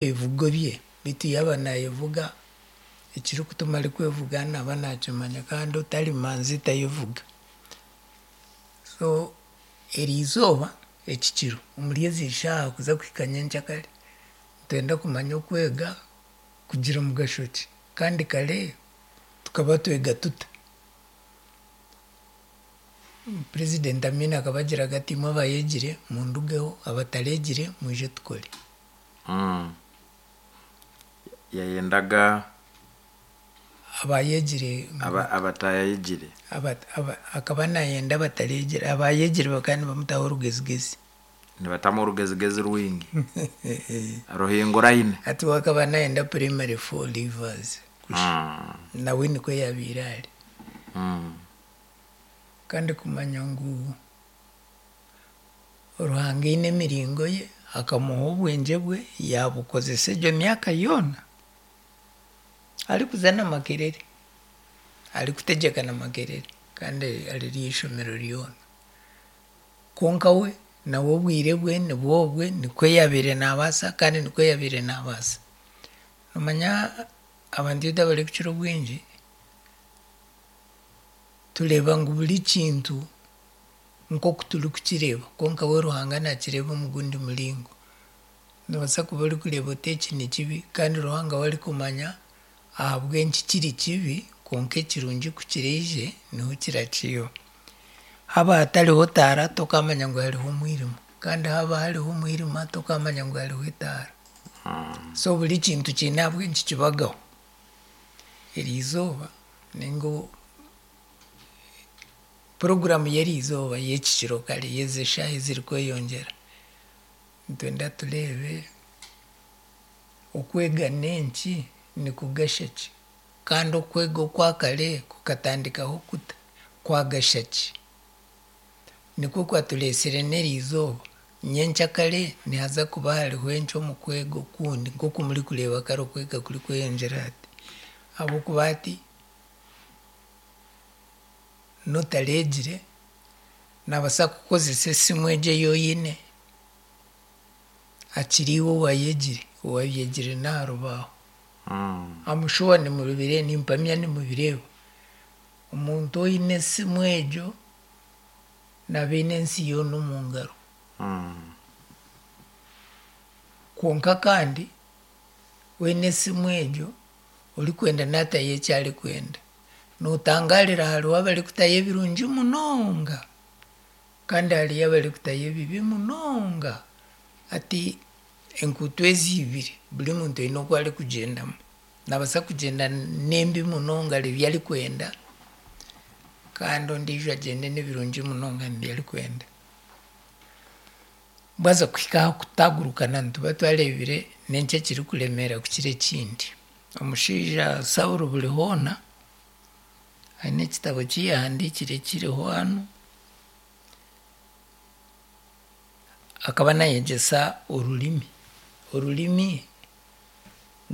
Ebivugo bye beitu yaaba naayevuga ekirikutuma arikwevuga naaba naakimanya kandi otari manzi tayevuga. So eriizooba eki kiro omuri ezi shaaha kuza kuhika nyenkyakare nitwenda kumanya okwega kugira mugasho ki kandi kare tukaba twega tuta? President Amin akaba agiraga ati imwe abayegire mundugeho abatareegire mwije tukore. Yayendaga Abayegire abatayegire. Akaba nayenda abatareegire, abayegire bakaba nibamutaho orugezigezi. Nibatamu orugezigezi rwingi ruhinguraine. Hati we akaba nayenda primary four leavers nawe nikwo yabaire ari. Kandi kumanya ngu Ruhanga aine emiringo ye, akamuha obwengye bwe yaabukozesa egyo myaka yoona arikuza na Makerere, arikutegyeka na Makerere kandi ari eishomero ryona. Kwonka we nawe obwire bwe nibwo obwe nikwo yaabaire naabaasa kandi nikwo yaabaire naabaasa. Noomanya abantu itwe abarikukira obwingi tureeba ngu buri kintu nk'oku turikukireeba kwonka we Ruhanga naakireeba omu gundi muringo. Noobaasa kuba orikureeba oti eki ni kibi kandi Ruhanga we arikumanya ahabw'enki kiri kibi kwonka ekirungi ku kiraije niho kirakiiba. Haaba hatariho taara tokaamanya ngu hariho omwirima kandi haaba hariho omwirima tokaamanya ngu hariho etaara. So buri kintu kiine ahabw'enki kibagaho. Eriizooba ninga puroguraamu y'eriizooba y'eki kiro kare y'ezi eshaaha ezirikweyongyera, nitwenda tureebe okwega n'enki, nikugasha ki kandi okwega okwa kare kukatandikaho kuta, kwagasha ki? Nikwo kwatureetsire n'eriizooba, nyenkyakare nihaza kuba hariho enki omu kwega okundi nk'oku murikureeba kare okwega kurikweyongyera hati. Ahabw'okuba hati n'otareegire naabaasa kukozesa esimu egyo ei oine akira iwe owaayegire, owaabyegire n'aha rubaaho. I'm sure nimubireeba, nimpamya nimubireeba. Omuntu oine esimu egyo naaba aine ensi yoona omu ngaro. Kwonka kandi oine esimu egyo orikwenda naatayo eki arikwenda. Nootangaarira hariho abarikutayo ebirungi munonga kandi hariyo abarikutayo ebibi munonga. Hati enkuuto ezi ibiri buri muntu aine oku arikugyendamu. Naabaasa kugyenda n'embi munonga ari ebi arikwenda kandi ondiijo agyende n'ebirungi munonga nibyo arikwenda. Bwaza kuhika aha kutaagurukana nituba twareebire n'enki ekirikuremeera kukira ekindi. Omushaija Saulo buri hoona aine ekitabo ki yaahandiikire kiriho hanu, akaba naayegyesa orurimi. Orurimi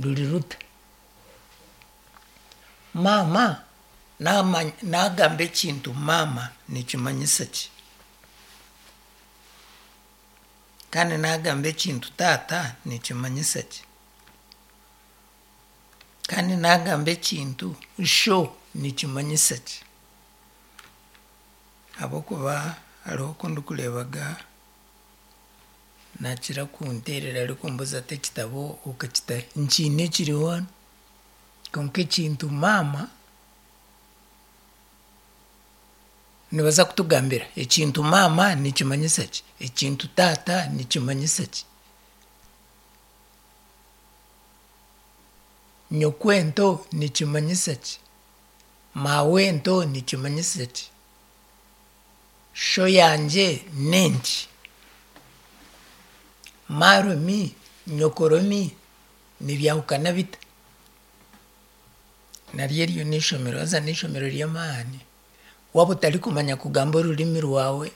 ruri ruta? Maama naagamba ekintu maama nikimanyisa ki? Kandi naagamba ekintu taata nikimanyisa ki? Kandi naagamba ekintu sho nikimanyisa ki? Ahabw'okuba hariho oku ndikureebaga naakira kunteerera arikumbuuza ati ekitabo okakita hi? Nkiine kiriho hanu kwonka ekintu maama nibaza kutugambira ekintu maama nikimanyisa ki? Ekintu taata nikimanyisa ki? Nyokwento nikimanyisa ki? Maawento nikimanyisa ki? Sho yangye n'enki? Maaromi, nyokoromi nibyahukana bita? Naryo eryo n'eishomero haza n'eishomero ry'amaani. Waaba otarikumanya kugamba orurimi rwawe,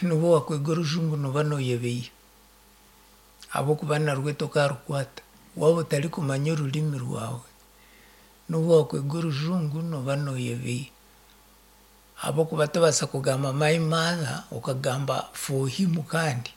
n'obu waakwega orujungu nooba nooyebeiha ahabw'okuba narwo tokaarukwata. Waaba otarikumanya orurimi rwawe, n'obu waakwega orujungu nooba nooyebeiha ahabw'okuba tobaasa kugamba my mother okagamba for him kandi.